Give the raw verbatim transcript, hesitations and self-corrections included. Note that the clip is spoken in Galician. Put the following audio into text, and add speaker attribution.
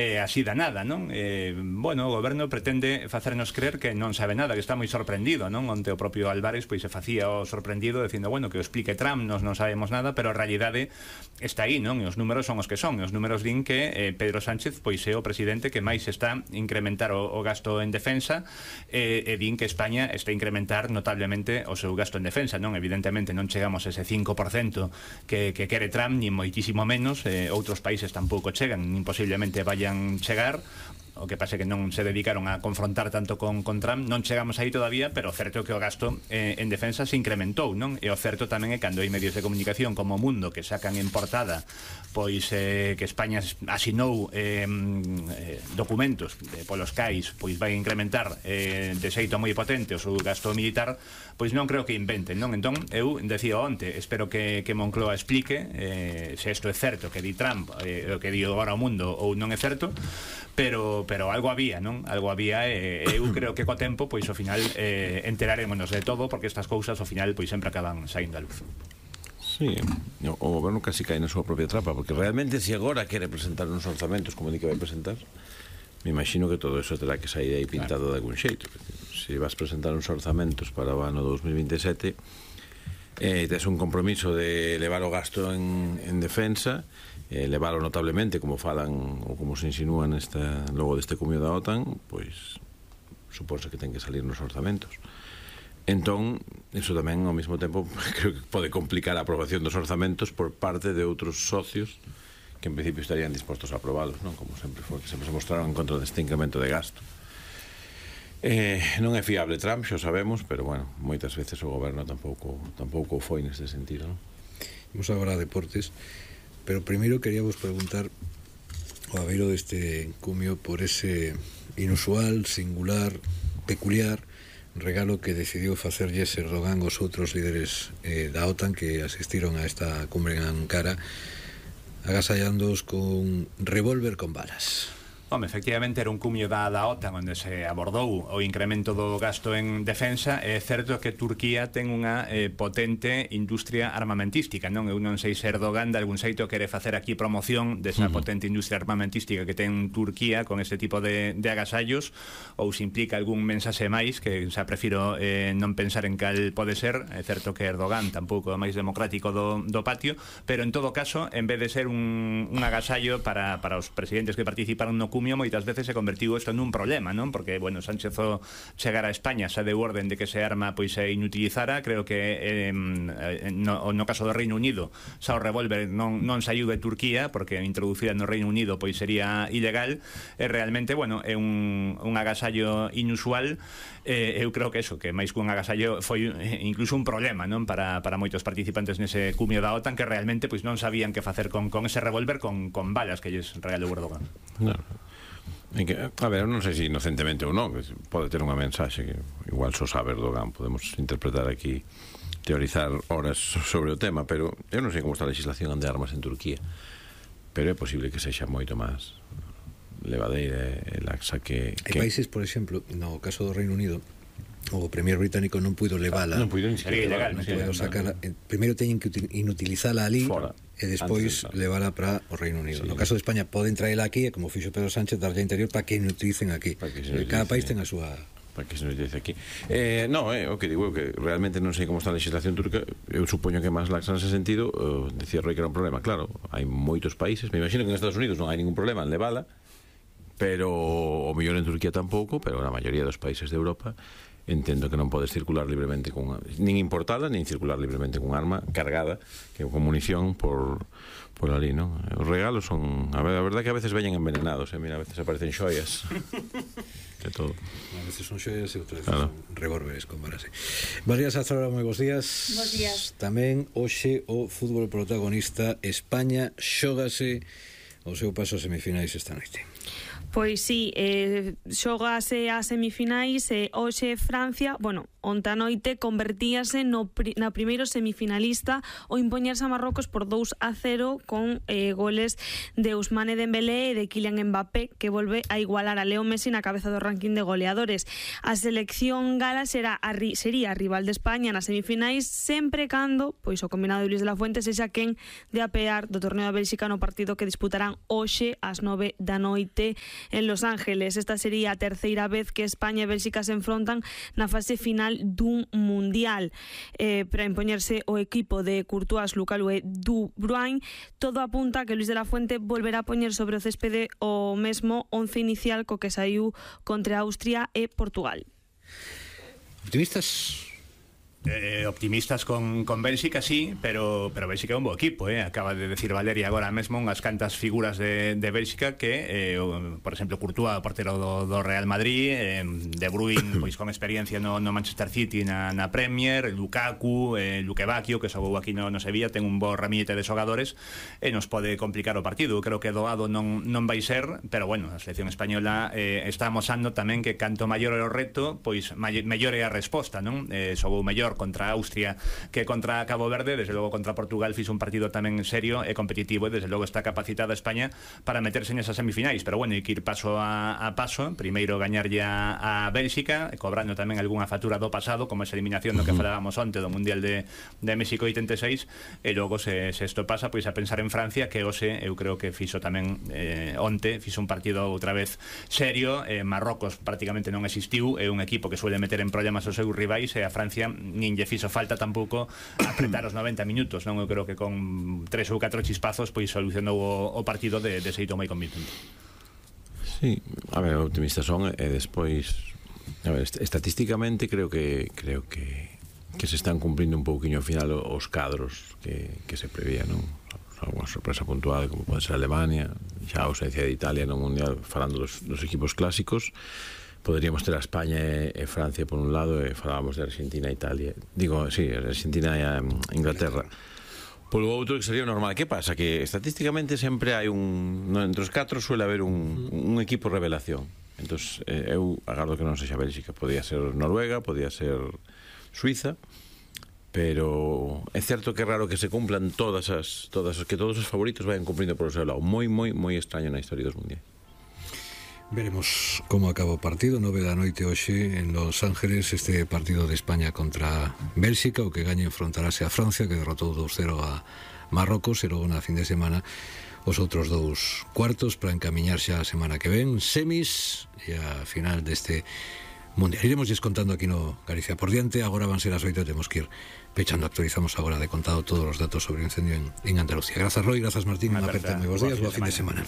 Speaker 1: É así da nada, non? Eh, bueno, o goberno pretende facernos creer que non sabe nada, que está moi sorprendido, non? Onte o propio Álvarez pois se facía o sorprendido dicindo, bueno, que o explique Trump, nos non sabemos nada, pero a realidade está aí, non? E os números son os que son, e os números din que eh, Pedro Sánchez pois é o presidente que máis está incrementar o, o gasto en defensa, e, e din que España está a incrementar notablemente o seu gasto en defensa, non? Evidentemente non chegamos a ese cinco por cento que, que quere Trump, ni moitísimo menos, eh, outros países tampouco chegan, nin posiblemente vayan chegar. O que pasa é que non se dedicaron a confrontar tanto con, con Trump, non chegamos aí todavía, pero o certo é que o gasto eh, en defensa se incrementou, non? E o certo tamén é cando hai medios de comunicación como o Mundo que sacan en portada pois eh, que España asinou eh, eh, documentos de, polos cais, pois vai incrementar eh, de xeito moi potente o seu gasto militar, pois non creo que inventen, non? Entón, eu decía onte, espero que, que Moncloa explique eh, se isto é certo que di Trump, eh, o que di agora o Mundo ou non é certo, pero pero algo había, non? Algo había e eh, eu creo que co tempo, pois ao final eh, enterarémonos de todo, porque estas cousas ao final pois sempre acaban saindo a luz.
Speaker 2: Sí, o goberno casi cae na súa propia trapa, porque realmente se agora quere presentar uns orzamentos como di que vai presentar, me imagino que todo eso terá que sair aí pintado claro. De algún xeito. Se vas presentar uns orzamentos para o ano dos mil vinte e sete, eh, tes un compromiso de elevar o gasto en, en defensa, eh, elevarlo notablemente, como falan ou como se insinúan esta, logo deste cumio da OTAN, pois supónse que ten que salir nos orzamentos. Entón, iso tamén ao mesmo tempo creo que pode complicar a aprobación dos orzamentos por parte de outros socios que en principio estarían dispostos a aprobalos, non? Como sempre foi, que sempre se mostraron en contra deste incremento de gasto. Eh, non é fiable Trump, xa o sabemos, pero bueno, moitas veces o goberno tampouco tampouco foi neste sentido, non?
Speaker 3: Vamos agora a deportes, pero primeiro queríamos preguntar ao abeiro deste cumio por ese inusual, singular, peculiar regalo que decidiu facerlles Erdogan aos outros líderes eh, da OTAN que asistiron a esta cumbre en Ankara, agasallándoos con revólver con balas.
Speaker 1: Home, efectivamente era un cumio da, da OTAN onde se abordou o incremento do gasto en defensa. É certo que Turquía ten unha eh, potente industria armamentística, non? Eu non sei se Erdogan de algún xeito quere facer aquí promoción desa uh -huh. potente industria armamentística que ten Turquía con este tipo de, de agasallos, ou se implica algún mensaxe máis que xa prefiro eh, non pensar en cal pode ser. É certo que Erdogan tampouco é o máis democrático do, do patio, pero en todo caso, en vez de ser un, un agasallo para, para os presidentes que participaron no cumio, moitas veces se convertiu isto nun problema, non? Porque, bueno, Sánchez o chegar a España xa deu orden de que se arma pois se inutilizara. Creo que eh, no, no caso do Reino Unido xa o revólver non, non saiu de Turquía, porque introducida no Reino Unido pois sería ilegal. E realmente, bueno, é un, un agasallo inusual. Eh, eu creo que eso, que máis que un agasallo foi incluso un problema, non? Para, para moitos participantes nese cumio da OTAN que realmente pois non sabían que facer con, con ese revólver con, con balas que lles regalou Erdogan.
Speaker 2: Claro. Que, a ver, non sei se inocentemente ou non, pode ter unha mensaxe que igual só sabe Erdogan, podemos interpretar aquí, teorizar horas sobre o tema, pero eu non sei como está a legislación de armas en Turquía, pero é posible que sexa moito máis levadeira e laxa que, que...
Speaker 3: Hai países, por exemplo, no caso do Reino Unido, o premier británico non puido levala,
Speaker 2: non puido
Speaker 1: sería ilegal,
Speaker 3: non puido sacar, primeiro teñen que inutilizala ali
Speaker 2: fora,
Speaker 3: e despois levala para o Reino Unido. Sí. No caso de España poden traela aquí e como fixo Pedro Sánchez darlle interior para que inutilicen aquí. Que cada país ten a súa...
Speaker 2: Para que se nos dice aquí. Eh, no, eh, o que digo é que realmente non sei como está a legislación turca. Eu supoño que máis laxa nese sentido. uh, Decía Roy que era un problema. Claro, hai moitos países, me imagino que en Estados Unidos non hai ningún problema en levala, pero o mellor en Turquía tampouco, pero na maioría dos países de Europa entendo que non podes circular libremente con, nin importada, nin circular libremente con arma cargada, que con munición por, por ali, non? Os regalos son, a, ver, a verdade que a veces veñen envenenados, eh? Mira, a veces aparecen xoias de todo.
Speaker 3: A veces son xoias e outras veces claro. Son revólveres con balas. María Sazora, moi bons días.
Speaker 4: Bos días.
Speaker 3: Tamén hoxe o fútbol protagonista, España xógase o seu paso a semifinais esta noite.
Speaker 4: Pois sí, eh, xogase a semifinais e hoxe Francia, bueno, onte a noite convertíase no pri, na primeiro semifinalista o impoñerse a Marrocos por dous a cero con eh, goles de Ousmane Dembélé e de Kylian Mbappé, que volve a igualar a Leo Messi na cabeza do ranking de goleadores. A selección gala será a, sería a rival de España nas semifinais sempre cando pois o combinado de Luis de la Fuente sexa quen de apear do torneo da Bélxica no partido que disputarán hoxe ás nove da noite en Los Ángeles. Esta sería a terceira vez que España e Bélxica se enfrontan na fase final dun mundial. Eh, para impoñerse o equipo de Courtois, Lukaku e De Bruyne, todo apunta que Luis de la Fuente volverá a poñer sobre o céspede o mesmo once inicial co que saiu contra Austria e Portugal.
Speaker 3: Optimistas?
Speaker 1: Eh, optimistas con, con Bélxica, sí, pero pero Bélxica é un bo equipo, eh? Acaba de decir Valeria agora mesmo unhas cantas figuras de, de Bélxica que, eh, o, por exemplo, Courtois, o portero do, do Real Madrid, eh, De Bruyne, pois con experiencia no, no Manchester City na, na Premier, Lukaku, eh, Luque Bacchio, que xogou aquí no, no Sevilla, ten un bo ramillete de xogadores e nos pode complicar o partido. Creo que doado non, non vai ser, pero bueno, a selección española eh, está amosando tamén que canto maior é o reto, pois mellor é a resposta, non? Eh, xogou mellor contra Austria que contra Cabo Verde, desde logo contra Portugal fixo un partido tamén serio e competitivo e desde logo está capacitada España para meterse nesas semifinais, pero bueno, hai que ir paso a, a paso, primeiro gañarlle a, a Bélxica, cobrando tamén algunha factura do pasado, como esa eliminación do que falábamos onte do Mundial de, de México oitenta e seis, e logo se, se isto pasa, pois a pensar en Francia, que hoxe eu creo que fixo tamén eh, onte, fixo un partido outra vez serio, eh, Marrocos prácticamente non existiu, é un equipo que suele meter en problemas os seus rivais, e a Francia nin lle fixo falta tampouco apretar os noventa minutos, non? Eu creo que con tres ou catro chispazos pois solucionou o, o partido de, de xeito moi convincente.
Speaker 2: Sí, a ver, optimistas son e despois, a ver, estatísticamente creo que creo que que se están cumprindo un pouquiño ao final os cadros que, que se prevían, non? Alguna sorpresa puntual como pode ser Alemania, xa a ausencia de Italia no Mundial, falando dos, dos equipos clásicos. Poderíamos ter a España e, e Francia por un lado, e falábamos de Argentina e Italia, digo, sí, Argentina e a Inglaterra polo outro, que sería normal. Que pasa? Que estatísticamente sempre hai un, no, entre os catro suele haber un, un equipo revelación. Entón, eh, eu agardo que non sexa Bélxica, podía ser Noruega, podía ser Suiza, pero é certo que é raro que se cumplan todas as, todas as que todos os favoritos vayan cumprindo por o seu lado. Moi, moi, moi extraño na historia dos mundiais.
Speaker 3: Veremos como acaba o partido, nove da noite hoxe en Los Ángeles, este partido de España contra Bélxica, o que gañe enfrontarase a Francia, que derrotou dos cero a Marrocos, e logo na fin de semana os outros dous cuartos para encamiñar xa a semana que ven, semis e a final deste mundial. Iremos descontando aquí no Galicia por diante. Agora van ser as oito, temos que ir pechando. Actualizamos agora de contado todos os datos sobre o incendio en, en Andalucía. Grazas, Roy, grazas, Martín, unha aperta moi bons días, boa fin de semana.